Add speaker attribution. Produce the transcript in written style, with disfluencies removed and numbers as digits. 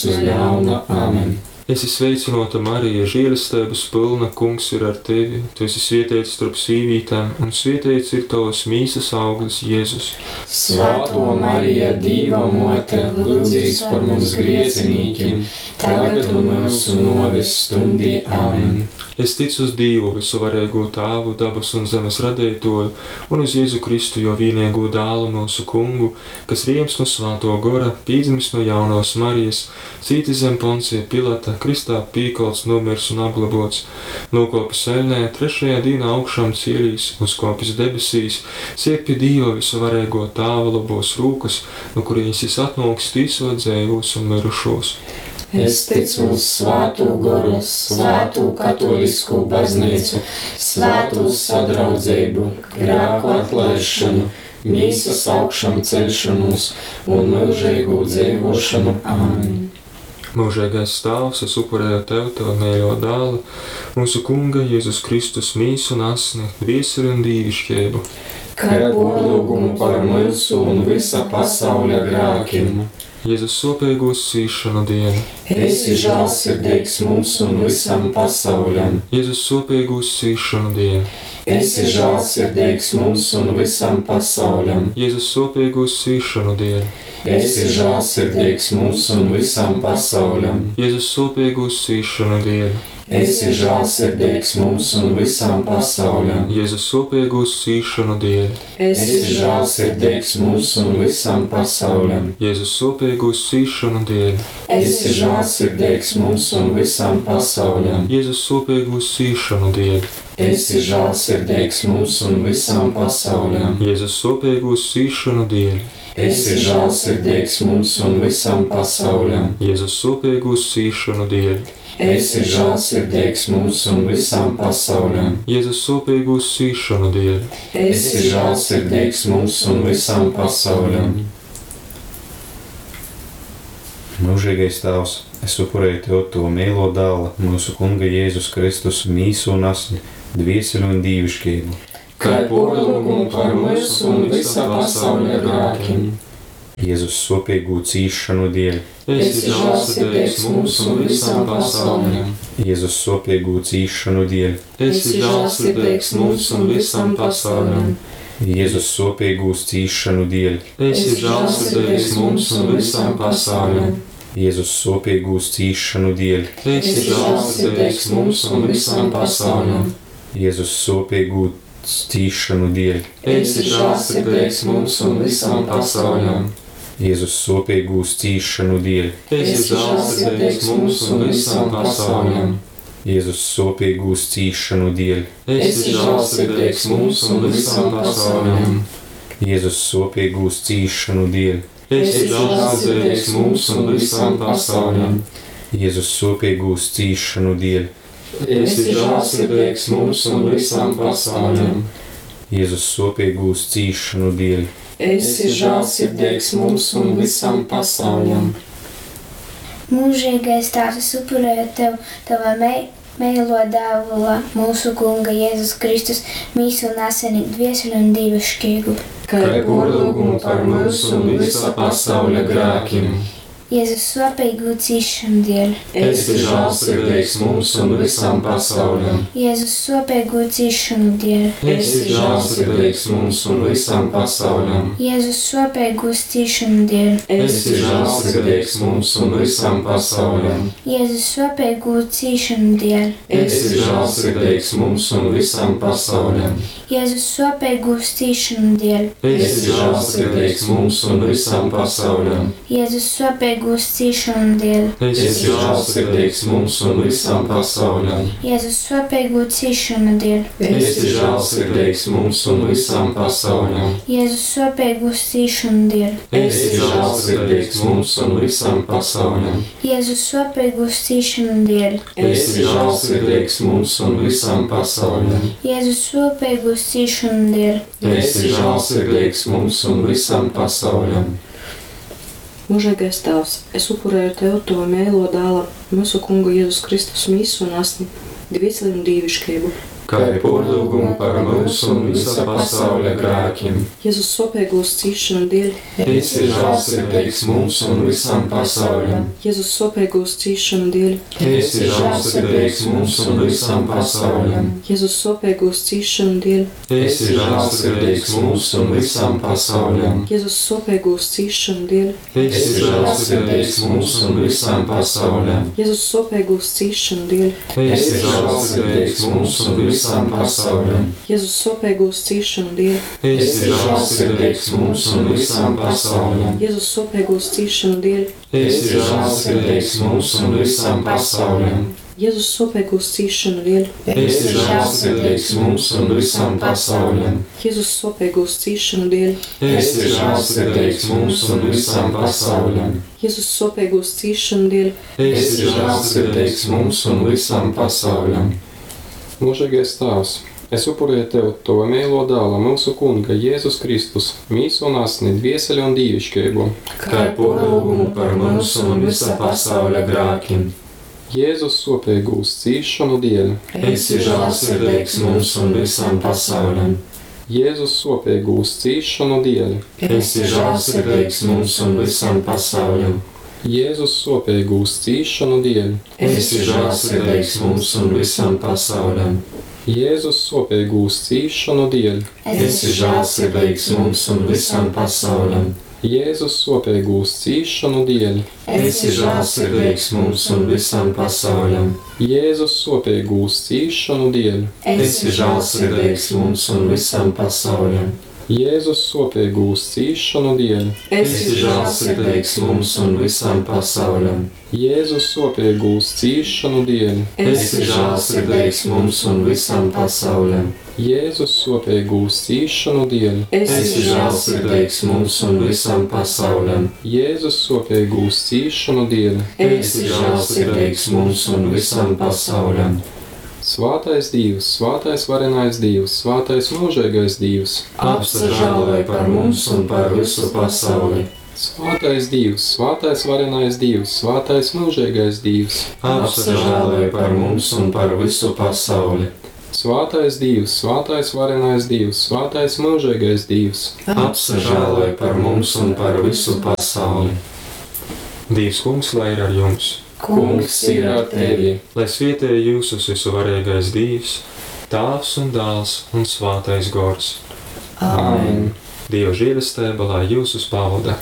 Speaker 1: Uz ļauna. Āmen.
Speaker 2: Esi sveicināta, Marija, žēlestības pilna, Kungs ir ar tevi. Tu esi svētīta starp sīvītēm, un svētīts ir tavas mīsas auglis, Jēzus.
Speaker 1: Svētā Marija, Dīva mote, lūdzīs par mums griecinīkim, tagad un mūsu noves stundī. Āmen.
Speaker 2: Es ticu uz Dievu, visuvarīgo Tēvu, dabas un zemes radītoju, un uz Jēzu Kristu, jo vienīgo dēlu mūsu kungu, kas riems no Svēto Gora, pīdzimis no jaunās Marijas, cīti zem Poncija Pilata, Kristā pīkolts, nomirs un apglabots, nokopis eļnē, trešajā dienā augšām cielīs, uzkopis debesīs, siek pie Dieva visuvarīgo Tēva labos rūkas, no kurienes jis atnāks tīsot dzēvos un mirušos.
Speaker 1: Es ticu uz Svēto Goru, Svēto Katolisko baznīcu, Svēto sadraudzību, grēku atlaišanu, mīsas augšām celšanos un mūžīgo dzīvošanu. Āmen.
Speaker 2: Mūžīgais Tēvs, es upurēju Tev Tavu mīļo dēlu, mūsu Kunga Jēzus Kristus mīsu un asni, dvieseli un dīvišķību.
Speaker 1: Kā porlūgumu par mūsu un visa pasauļa grēkiem.
Speaker 2: Jēzus sopīgos cīšanu dienu.
Speaker 1: Esi žēlsirdīgs mums un visam pasauļam.
Speaker 2: Jēzus sopīgos cīšanu dienu.
Speaker 1: Esi žēlsirdīgs mums un visam pasauļam.
Speaker 2: Jēzus sopīgos cīšanu dienu.
Speaker 1: Esi žēlsirdīgs mums un visam pasauļam.
Speaker 2: Jēzus sopīgos cīšanu dienu.
Speaker 1: Esi žēlsirdīgs mums un visam pasauļam.
Speaker 2: Jēzus sopīgos cīšanu dienu.
Speaker 1: Esi žēlsirdīgs mums un visam pasauļam.
Speaker 2: Jēzus sopīgos cīšanu dienu.
Speaker 1: Esi žēlsirdīgs mums un visam pasauļam.
Speaker 2: Jēzus sopīgos cīšanu dienu.
Speaker 1: Esi žēlsirdīgs mums un visam pasauļam.
Speaker 2: Jēzus sopīgos cīšanu dienu.
Speaker 1: Esi žēlsirdīgs mums un visam pasauļam.
Speaker 2: Jēzus sopīgos cīšanu dienu.
Speaker 1: Esi žēlsirdīgs mums un visam pasauļam.
Speaker 2: Jēzus sopīgos cīšanu dienu.
Speaker 1: Esi žēlsirdīgs mums un visam pasauļam.
Speaker 3: Mūžīgais Tēvs, es upurēju Tev to mīlo dēla, mūsu Kunga Jēzus Kristus mīsu un asni, dvieseli un dīvišķību.
Speaker 1: Kā porlūgumu par mūsu un visa pasauļa grēkiem.
Speaker 3: Jēzus sopīgo cīšanu dēļ,
Speaker 2: Esi žēlsirdīgs mums un visam pasauļam.
Speaker 3: Jēzus sopīgo cīšanu dēļ,
Speaker 2: Esi žēlsirdīgs mums un visam pasauļam.
Speaker 3: Jēzus sopīgos cīšanu dēļ,
Speaker 2: Esi žēlsirdīgs mums un visam pasauļam.
Speaker 3: Jēzus sopīgos cīšanu dēļ,
Speaker 2: Esi žēlsirdīgs mums un visam pasauļam.
Speaker 3: Jēzus sopīgo cīšanu dēļ,
Speaker 2: Esi žēlsirdīgs mums un visam pasauļam.
Speaker 3: Jēzus sopīgos cīšanu dēļ,
Speaker 2: Esi žēlsirdīgs mums un visam pasauļam.
Speaker 3: Jēzus sopīgos cīšanu dēļ,
Speaker 2: Esi žēlsirdīgs mums un visam pasauļam.
Speaker 3: Jēzus sopīgos cīšanu dēļ,
Speaker 2: Esi žēlsirdīgs mums un visam pasauļam.
Speaker 3: Jēzus sopīgos cīšanu dēļ,
Speaker 2: Esi žēlsirdīgs mums un visam pasauļam.
Speaker 3: Jēzus sopīgos cīšanu dēļ,
Speaker 1: Esi žēlsirdīgs mums un visam pasauļam.
Speaker 4: Mūžīgais Tēvs, es upurēju Tev Tava mīlo dēla, mūsu Kunga Jēzus Kristus, mīsu un asini, dvieseli un dīvišķīgu.
Speaker 1: Kā porlūgumu par mūsu un visa pasauļa grēkiem.
Speaker 4: Jēzus sopīgu cīšanu dēļ,
Speaker 1: Esi žēlsirdīgs mums un visam pasauļam.
Speaker 4: Jēzus sopīgu cīšanu dēļ,
Speaker 1: Esi žēlsirdīgs mums un visam pasauļam.
Speaker 4: Jēzus sopīgu cīšanu dēļ,
Speaker 1: Esi žēlsirdīgs mums un visam pasauļam.
Speaker 4: Jēzus sopīgu cīšanu dēļ,
Speaker 1: Esi žēlsirdīgs mums un visam pasauļam.
Speaker 4: Jēzus sopīgu cīšanu dēļ,
Speaker 1: Esi žēlsirdīgs mums un visam pasauļam.
Speaker 4: Jēzus sopīgu cīšanu dēļ,
Speaker 1: Esi žēlsirdīgs mums un visam pasauļam.
Speaker 4: Jēzus sopīgu cīšanu dēļ,
Speaker 1: Esi žēlsirdīgs mums un visam pasauļam.
Speaker 4: Jēzus sopīgu cīšanu dēļ,
Speaker 1: Esi žēlsirdīgs mums un visam pasauļam.
Speaker 4: Jēzus sopīgu cīšanu dēļ,
Speaker 1: Esi žēlsirdīgs mums un visam pasauļam.
Speaker 4: Jēzus sopīgu cīšanu dēļ.
Speaker 1: Esi žēlsirdīgs mums un visam pasauļam.
Speaker 5: Mūžīgais Tēvs, es upurēju Tev to mīlo dēla, mūsu Kunga Jēzus Kristus mīsu un asni, dvieseli un dīvišķību.
Speaker 1: Kai pōrlyugumu par myusu un vysa pasauļa grākim.
Speaker 5: Jēzus sōpeigūs cīsšonu dēļ.
Speaker 1: Esi žālsirdeigs mums un vysam pasauļam.
Speaker 5: Jēzus sōpeigūs cīsšonu dēļ.
Speaker 1: Esi žālsirdeigs mums un vysam pasauļam.
Speaker 5: Jēzus sōpeigūs cīsšonu dēļ.
Speaker 1: Esi žālsirdeigs mums un vysam pasauļam.
Speaker 5: Jēzus sōpeigūs cīsšonu dēļ.
Speaker 1: Esi žālsirdeigs mums un vysam pasauļam.
Speaker 5: Jēzus sōpeigūs cīsšonu dēļ.
Speaker 1: Esi žālsirdeigs mums un vysam pasauļam.
Speaker 5: Jēzus sōpeigūs cīsšonu dēļ.
Speaker 1: Esi žālsirdeigs mums un visam pasauļam.
Speaker 5: Jēzus sōpeigūs cīsšonu dēļ.
Speaker 1: Esi žālsirdeigs mums un visam pasauļam.
Speaker 5: Jēzus sōpeigūs cīsšonu dēļ.
Speaker 1: Esi žālsirdeigs mums un visam pasauļam.
Speaker 5: Jēzus sōpeigūs cīsšonu dēļ.
Speaker 1: Esi žālsirdeigs mums un visam pasauļam.
Speaker 5: Jēzus sōpeigūs cīsšonu dēļ.
Speaker 1: Esi žālsirdeigs mums un visam pasauļam.
Speaker 2: Mūžīgais Tēvs, es upurēju Tev Tava mīlo dēla, mūsu Kunga Jēzus Kristus, mīsu un asni, dvieseli un dīvišķību.
Speaker 1: Kai porlūgumu par mūsu un visa pasauļa grākim.
Speaker 2: Jēzus sopīgūs cīšanu dēļ.
Speaker 1: Esi žēlsirdīgs mums un visam pasauļam.
Speaker 2: Jēzus sopīgūs cīšanu dēļ.
Speaker 1: Esi žēlsirdīgs mums un visam pasauļam.
Speaker 2: Jēzus sopīgūs cīšanu dēļ.
Speaker 1: Esi žēlsirdīgs mums un visam pasauļam.
Speaker 2: Jēzus sopīgūs cīšanu dēļ.
Speaker 1: Esi žēlsirdīgs mums un visam pasauļam.
Speaker 2: Jēzus sopīgūs cīšanu dēļ.
Speaker 1: Esi žēlsirdīgs mums un visam pasauļam.
Speaker 2: Jēzus sopīgūs cīšanu dēļ.
Speaker 1: Esi žēlsirdīgs mums un visam pasauļam.
Speaker 2: Jēzus sopīgūs cīšanu dēļ.
Speaker 1: Esi žēlsirdīgs mums un visam pasauļam.
Speaker 2: Jēzus sopīgūs cīšanu dēļ.
Speaker 1: Esi žēlsirdīgs mums un visam pasauļam.
Speaker 2: Jēzus sopīgūs cīšanu dēļ.
Speaker 1: Esi žēlsirdīgs mums un visam pasauļam.
Speaker 2: Jēzus sopīgūs cīšanu dēļ.
Speaker 1: Esi žēlsirdīgs mums un visam pasauļam.
Speaker 2: Svātais Dievs, svātais varenais Dievs, svātais mūžīgais Dievs.
Speaker 1: Apsažāloj par mums un par visu pasauli.
Speaker 2: Svātais Dievs, svātais varenais Dievs, svātais mūžīgais Dievs.
Speaker 1: Apsažāloj par mums un par visu pasauli.
Speaker 2: Svātais Dievs, svātais varenais Dievs, svātais mūžīgais Dievs.
Speaker 1: Apsažāloj par mums un par visu pasauli.
Speaker 2: Dievs kungs, lai ir ar jums!
Speaker 1: Kungs ir ar tevi!
Speaker 2: Lai svietē jūsus visuvarīgais Dievs, Tēvs un Dēls un Svātais Gors.
Speaker 1: Āmen!
Speaker 2: Dieva žēlastība, lai jūsus pavada.